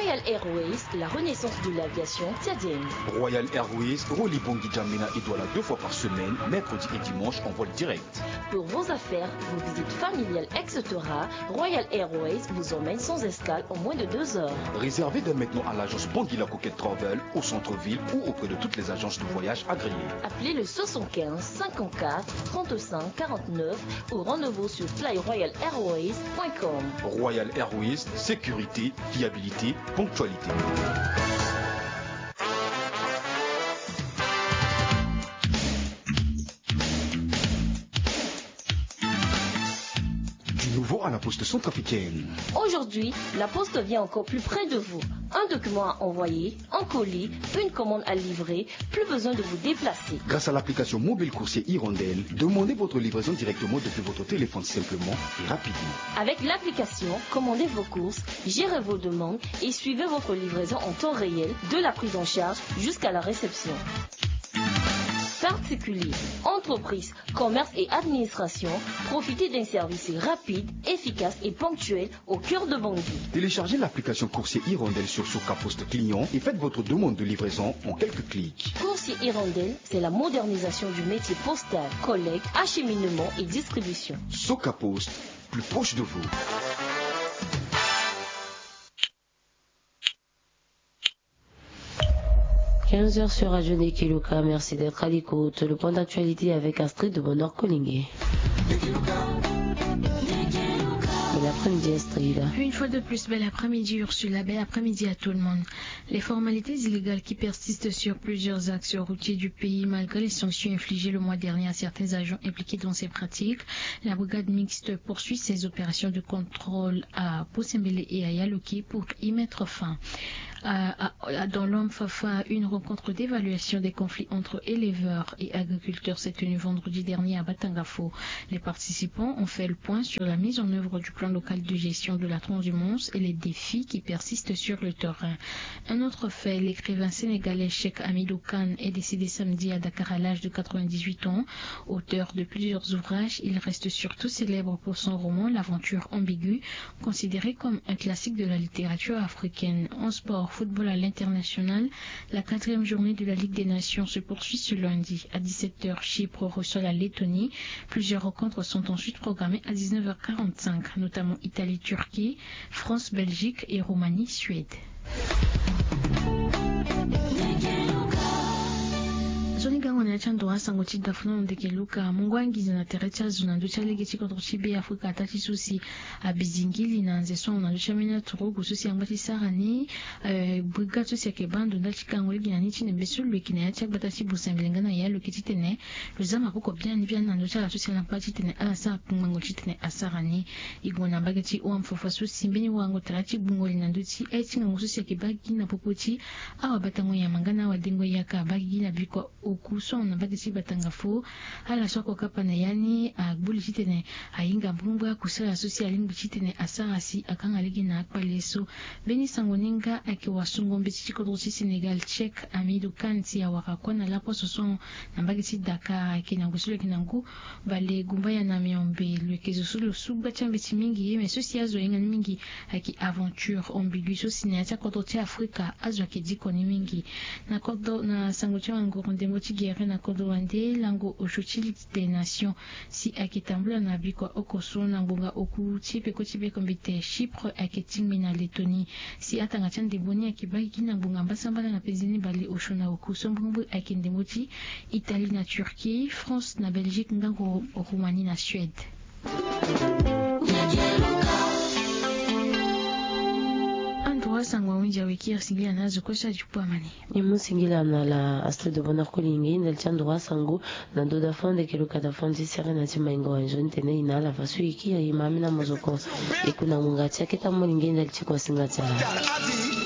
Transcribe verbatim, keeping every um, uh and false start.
Royal Airways, la renaissance de l'aviation tchadienne. Royal Airways relie Bangui N'Djamena et Douala deux fois par semaine, mercredi et dimanche en vol direct. Pour vos affaires, vos visites familiales, et cetera, Royal Airways vous emmène sans escale en moins de deux heures. Réservez dès maintenant à l'agence Bangui La Coquette Travel au centre-ville ou auprès de toutes les agences de voyage agréées. Appelez le soixante-quinze cinquante-quatre trente-cinq quarante-neuf ou rendez-vous sur fly royal airways point com. Royal Airways, sécurité, fiabilité, ponctualité. Du nouveau à la Poste Centrafricaine. Aujourd'hui, la Poste vient encore plus près de vous. Un document à envoyer, un colis, une commande à livrer, plus besoin de vous déplacer. Grâce à l'application mobile Coursier Hirondelle, demandez votre livraison directement depuis votre téléphone simplement et rapidement. Avec l'application, commandez vos courses, gérez vos demandes et suivez votre livraison en temps réel, de la prise en charge jusqu'à la réception. Particuliers, entreprises, commerces et administrations, profitez d'un service rapide, efficace et ponctuel au cœur de Bangui. Téléchargez l'application Coursier Hirondelle sur Soka Post Client et faites votre demande de livraison en quelques clics. Coursier Hirondelle, c'est la modernisation du métier postal, collecte, acheminement et distribution. Soka Post, plus proche de vous. Quinze heures sur Radio Nekeluka. Merci d'être à l'écoute. Le point d'actualité avec Astrid de Bonheur Kolingué. Bel après-midi, Astrid. Une fois de plus, bel après-midi, Ursula. Bel après-midi à tout le monde. Les formalités illégales qui persistent sur plusieurs axes routiers du pays, malgré les sanctions infligées le mois dernier à certains agents impliqués dans ces pratiques, la brigade mixte poursuit ses opérations de contrôle à Bosembele et à Yaloki pour y mettre fin. À, à, à, dans l'Homme Fafa, une rencontre d'évaluation des conflits entre éleveurs et agriculteurs s'est tenue vendredi dernier à Batangafo. Les participants ont fait le point sur la mise en œuvre du plan local de gestion de la transhumance et les défis qui persistent sur le terrain. Un autre fait, l'écrivain sénégalais Cheikh Hamidou Kane est décédé samedi à Dakar à l'âge de quatre-vingt-dix-huit ans. Auteur de plusieurs ouvrages, il reste surtout célèbre pour son roman L'aventure ambiguë, considéré comme un classique de la littérature africaine. En sport, football à l'international, la quatrième journée de la Ligue des Nations se poursuit ce lundi. À dix-sept heures, Chypre reçoit la Lettonie. Plusieurs rencontres sont ensuite programmées à dix-neuf heures quarante-cinq, notamment Italie-Turquie, France-Belgique et Roumanie-Suède. Nzoni gango na ya ti ando wa sango ti dafuna na ndeke luka mungo angiza na tere ti azo na ndö ti alege ti kodro ti Be Afrika ata ti so si abizingili na nze so na ndö ti ambeni aturugu so si angba ti sara ni. Eh, brigade so si ayeke baa ndo ndali ti gango lege na ni ti nembe so lo yeke na ya ti agbata ti Bosembele nga na ya lo yeke titene lo za maboko biani biani na ndö ti ala so si ala ngba titene ala sara kungbango titene asara ni. E gue na mbage ti Homme Fafa so si mbeni warango tara ti gbungo li na ndö ti aye ti ngangu so si ayeke baa gigi na popo ti awabatango nyama nga na awadengo yaka abaa gigi na bikua oku so ahon na mbage ti Batangafo. Ala so ako kapa na ya ni agbu li titene ahinga mbrimbri akusala so si alingbi titene asara si akanga lege na akpale so. Mbeni sango ni nga ayeke wasungo mbeti ti kodro ti Sénégal Cheikh Hamidou Kane si awara kue na laposo so ahon na mbage ti Dakar. Ayeke na ngu so lo yeke na ngu bale gumbaya na miombe, lo yeke zo so lo su gba ti ambeti mingi ye me so si azo ahinga ni mingi ayeke aventure ambiguë so si na ya ti akodro ti Afrika azo ayeke diko ni mingi. Na kodro na sango ti wanguru ndembo ti gere na kodro wande lango osio ti Ligue des Nations si ayeke tambula na bikua oko so na ngbonga oku ti peko ti bekombite Chypre ayeke tingbi na Lettonie. Si atanga ti andembo ni ayeke baa gigi na ngbonga mbasambala na penze ni bale osio na oku so mbrimbri ayeke ndembo ti Italie na Turquie, France na Belgique nga Ro-, Roumanie na Suède. Andro asango awinzi aweki asingila na azo kue so adi kpo amani. E mu singila na ala Astrid Bonheur Kolingi ndali ti andro asango na ndo da fond eke luka da fond ti sere na ti maingo wa nzoni tene e na ala fa so e kiri e ma ambeni amozoko. E ku na ngonga ti aketa molenge ndali ti kuasinga ti ala.